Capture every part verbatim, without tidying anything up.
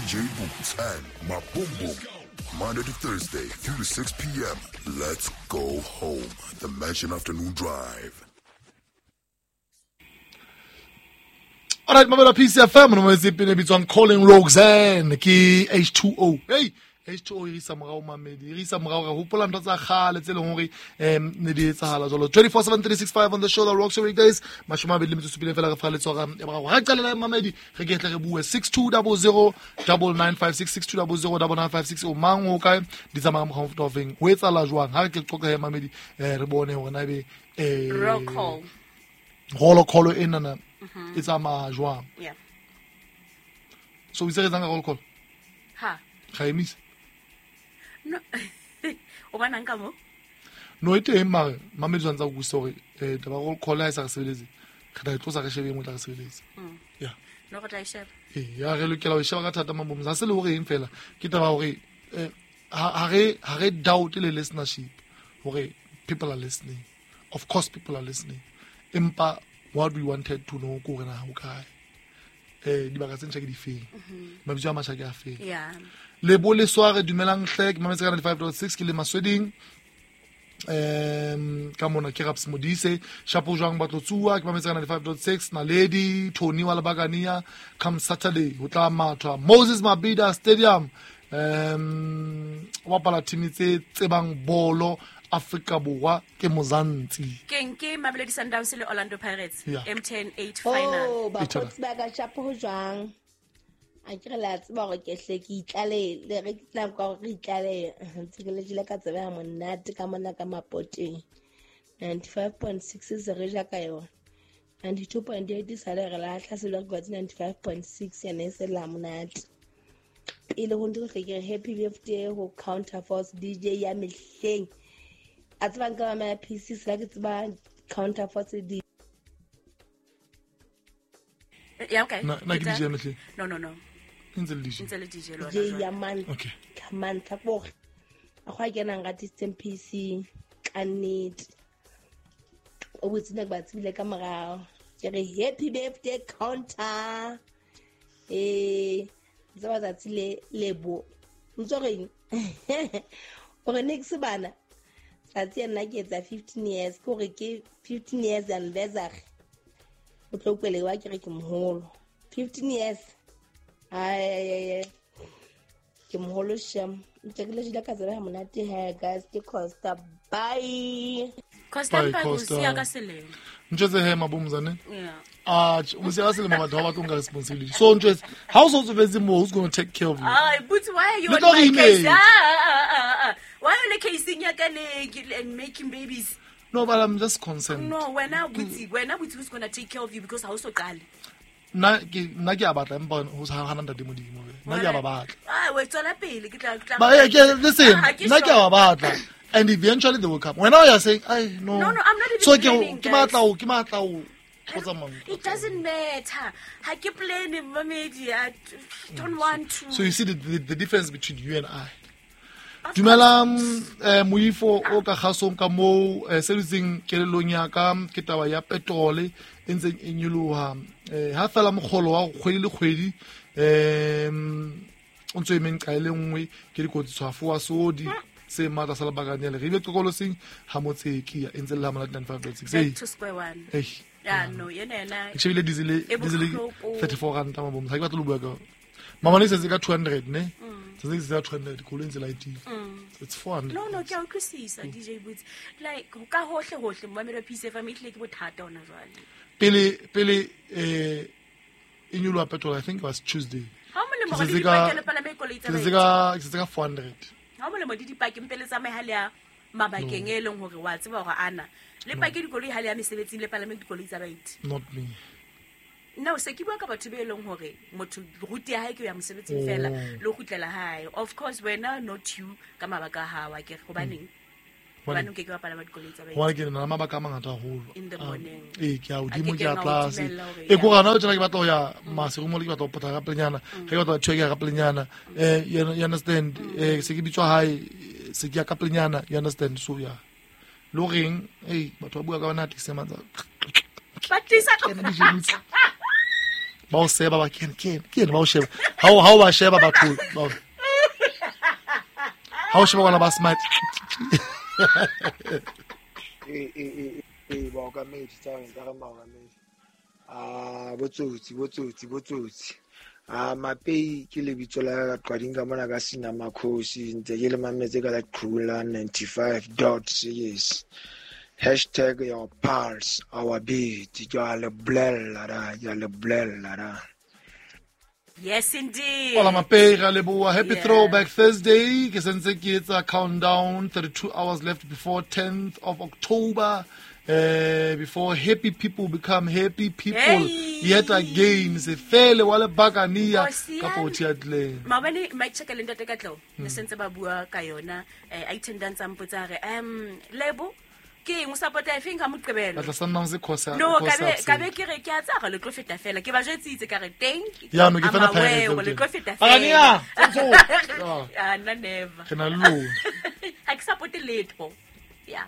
D J Boots and Maboom. Monday to Thursday, three to six p m. Let's go home. The Mansion Afternoon Drive. Alright, mamela P C F M no metse pele bitswang Calling Roxanne ke H two O. Hey, H two O e re isa morao, mamedi. E re isa morao, re hopola ntho tsa kgale tse leng hore um ne di etsahala jwalo. twenty-four seven three sixty-five on the show that rocks your weekdays. Mashome a mabedi le metso e supileng fela re fa letshwara ya boraro. Ha re qalela, mamedi, re ke tle re bue six two zero zero nine nine five six, six two zero zero nine nine five six. O mang, o kae, di tsamaya ka mokgwa o mofuta o feng, ho etsahala jwang? Ha re ke qoqa he, mamedi, eh, re bone hore na ebe eh Roll call. Roll call enana e tsamaya jwang. Yeah. So o itse re etsang ka roll call? Ha. Ga emise. No. O bonang ka mo? No, e teng, mare mamedi tshwanetse a utlwisise hore um taba ya roll call ha e sa re sebeletse, re tla e tlosa, re shebe e nngwe e tla re sebeletse. Ya. No, re tla e sheba. Ee, ya, re lokela ho e sheba ka thata, mabomsa. Ha se le hore eng fela, ke taba ya hore eh, ha ha re ha re doubt le listenership, hore people are listening. Of course people are listening, empa what we wanted to know ke hore na ho kae, eh dibaka tse ntjha ke difeng, mabitso a matjha ke a feng. Yeah. Lebo le soare, dumelang hle, ke mametse ka ninety-five point six, ke le Masweding um ka mona, ke Raps Modise shapo jwang batlotsuwa, ke mametse ka ninety-five point six. Naledi Tony wa Lebakania, come Saturday ho tla mathwa Moses Mabhida Stadium, um o bapala team tse tsebang bolo Afrika Borwa ke Mozantsi. Keng ke Mamelodi Sundowns le Orlando Pirates. Yeah. M T N eight final. Oh, bakgotsi ba ka, shapo ho jwang? A ke re le a tseba hore ke hle ke itlale re ke tlang ka hore re itlale ntse ke le jele ka tsebe ya monate ka mona ka Mapoteng. ninety-five point six se re ja ka yona. ninety-two point eight sale re lahla se le re kwatsi ninety-five point six yena e se la monate. Pele ho ntho hle ke re happy birthday ho Counter Force D J ya mehleng. A tseba nka ba P C se la ke tseba Counter Force D J. Yeah, okay. Na na ke D J ya mehleng? No, no, no. E ntse le D J. Ntse le D J lona. D J ya man. Okay. Ka mantlha kore a go a kenang ratisitseng P C ka nnete. O botse ne ke ba tsebile ka morao. Ke re happy birthday, Counter. Eh, tseba tsatsi le lebo. Ntso reng? O re next bana. Tsatsi nna ke etsa fifteen years, ke hore ke fifteen years anniversary. O tlo kwele wa ke re ke moholo. fifteen years. Ai ai ai, ai. Ke moholo shem. Ntse ke le jela ka tsebe ha monate he, guys, ke Costa. Bye. Costa. Bye, Mpa Costa. o siya ka selemo. Ntjwetse he, mabomzane. Yeah. Ah, o siya ka selemo, batho ba batlo nka responsibility. So ntjwetse, ha o so tsofetse mo, who's going to take care of you? Ah, but why are you Le on tlo my re case? image. Ah, ah, ah, ah. Why are you on casing ya ka le and making babies? No, but I'm just concerned. No, wena butsi, wena butsi, who's going to take care of you because ha o so qale. Nna ke nna ke a batla, empa ho sa hana ntate Modimo be. Nna ke a ba batla. Ah, we tswela pele ke tla ke tla. But yeah, ke listen, Ah, ke nna ke a sure. ba batla. And eventually they will come. When now you're saying, I no. No, no, I'm not even So ke planning, ke guys. matla o, ke matla o go tsamaya. It doesn't matter. Ha ke plan, mamedi. I don't want to. So you see the, the, the difference between you and I. Of Dumelang, eh moifo o ka kgasong ka moo, eh, se dutseng kelellong ya ka ke taba ya petrol e ntseng e nyoloha, eh ha fela mokgolo wa kgwedi le kgwedi em o ntso emeng ka ile nngwe ke dikotsi tshwafo wa sodi se matla sa lebakanyana re ile qokoloseng ha motseki ya e ntse le la monate ninety-five point six. Back Hey. to square one. Hey. Yeah, no, yena yena. Ke shebile diesel E diesel bohloko. thirty-four ranta, mabomsa, ha ke batle ho bua ka mamane, e setse ka two hundred ne, setse se ka two hundred, koloi e ntse laetile, it's four hundred. No, no, ke a utlwisisa, D J Boots. Like ka hohle hohle mamelo P C F M ehlile ke bothata hona jwale. pele pele eh e nyoloha petrol, I think it was Tuesday. Ha o molemo Ke hore setse di ka- dipake le palame koloi tsa ke setse baeti. ka ke setse ka four hundred. Ha o molemo di dipake mpe le tsamaye ha le ya mabakeng e leng hore wa tseba hore ana le pake dikoloi ha le ya mesebetsing, le palame dikoloi tsa baeti. Not me. No, se ke bua ka batho be leng hore motho route ya hae ke ho ya mosebetsing fela Oh. le ho kgutlela hae. Of course wena, not you, ka mabaka a hao a kere hobaneng? Hobaneng o ke ke wa palama dikoloi tsa baeti? Hobane ke na le mabaka a mangata haholo. In the Ah, morning. Ee, ke ya A hodimo, ke ke ya keng a o tlase. dumella hore E ya. ko gana tjena ke batla ho ya Maseru mo, ke batla ho potlaka ka pelenyana, ge ke batla ho thuya, ke ya ka pelenyana, eh you you understand, eh se ke bitswa hae, se ke ya ka pelenyana, you understand? So yeah, le horeng ei batho ba bua ka yona taxi ya matsa Ba tlisa kena D J Boots. Ba o seba ba ke ke ke ba o sheba. Ha o ha o ba sheba batho. Ha o sheba bona ba smart. Eh eh eh ba o ka medi tsa reng ka re maokamedi. Ah botsotsi botsotsi botsotsi. Ah Mapei ke lebitso la ka qading ka mona ka sina makhosi ntse ke le mametse ka la Qula ninety-five dot six. Hashtag your pulse, our beat. Ke a le bolella ra, ke a le bolella ra. Yes, indeed. Hola Mapei, ra leboha. Happy yeah. Throwback Thursday. Ke sentse ke etsa countdown, thirty-two hours left before tenth of October. Uh, before happy people become happy people. Hey. Yet again, se fele wa le bakania ka potiatle. Maobane Mike Check le ntate Katlo ne sentse ba bua ka yona eh attendance a mpotsa re um lebo ke eng o support e feng ka moqebelo. Batla Sundowns e khosa. No, ka be ka be ke re ke a tsa re le tlo feta fela ke ba jwetsitse ka re teng. Ya no ke fela Pirates le tlo feta fela. Bakania. Ah na never. Ke na lo. Ha ke support letho. Yeah.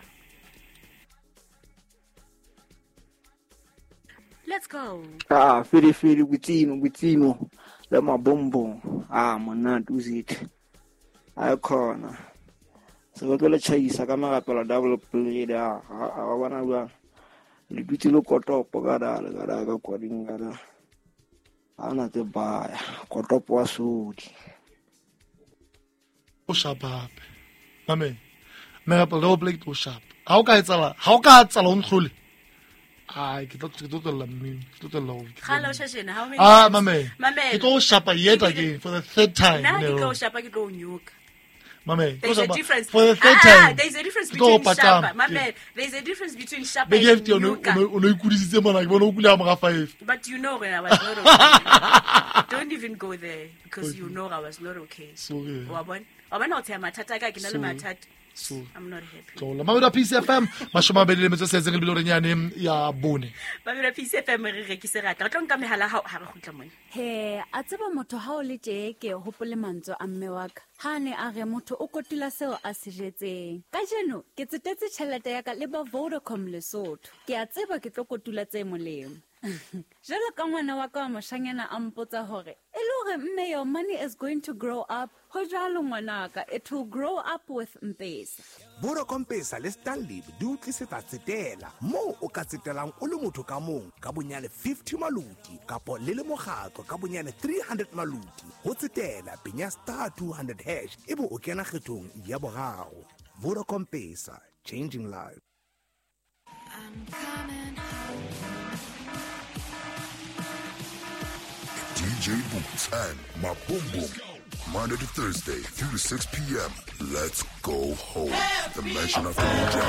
Let's go. Ah, firi firi kutsino kutsino le mabombo. Ah, monate uzit. Ay khona. Se ba tlo chaisa ka marapela double play da. A bona bua. Le dutse le kotopo ka da le ka da ka kwading ka da. Ana tse ba kotopo wa sodi. O shapa hape. Mame. Merapela double play o shapa. Ha o ka etsala, ha o ka tsala o ntlhole. Ai, ke tlo ke tlo tlolla mmino, ke tlo tlolla ho. Kgala o shashena, how many? Ah, mame. Mame. Ke tlo shapa yet again for the third time. Nna ke tlo shapa ke tlo nyoka. Mame, there's a difference. For the third ah, time. There's a difference between shapa. Mame, there's a difference between shapa and nyoka. O no ikudisitse mona, ke bona o kula mora five. But you know when I was not okay. Don't even go there because okay. You know I was not okay. Sorry. Wa bona? Wa bona o tsaya mathata ka ke na le mathata. So, I'm not happy. Tlola Mamela P C F M mashome a mabedi le metso e tsheletseng le bilore nyane ya bone. Mamela P C F M re rekise ratla. Re tlo nka mehala ha ha re kgutla mona. He, a tseba motho ha o le tje ke hopole mantswe a mme wa ka. Ha ne a re motho o kotula seo a se jetseng. Kajeno ke tsetetse tjhelete ya ka le ba Vodacom Lesotho. Ke a tseba ke tlo kotula tse molemo. Jwalo ka ngwana wa ka wa moshanyana a mpotsa hore e le hore mme your money is going to grow up. Ho jwalo ngwanaka, it will grow up with Mpesa. Vodacom Pesa le Stanley di o tlisetsa tsetela moo o ka tsetelang o le motho ka mong ka bonyane fifty maluti kapo le le mokgatlo ka bonyane three hundred maluti. Ho tsetela penya star two hundred hash ebe o kena kgethong ya boraro. Vodacom Pesa, changing lives. I'm coming home. D J Boots and Maboom. Monday to Thursday, three to six p.m. Let's go home. The Mansion Afternoon Drive.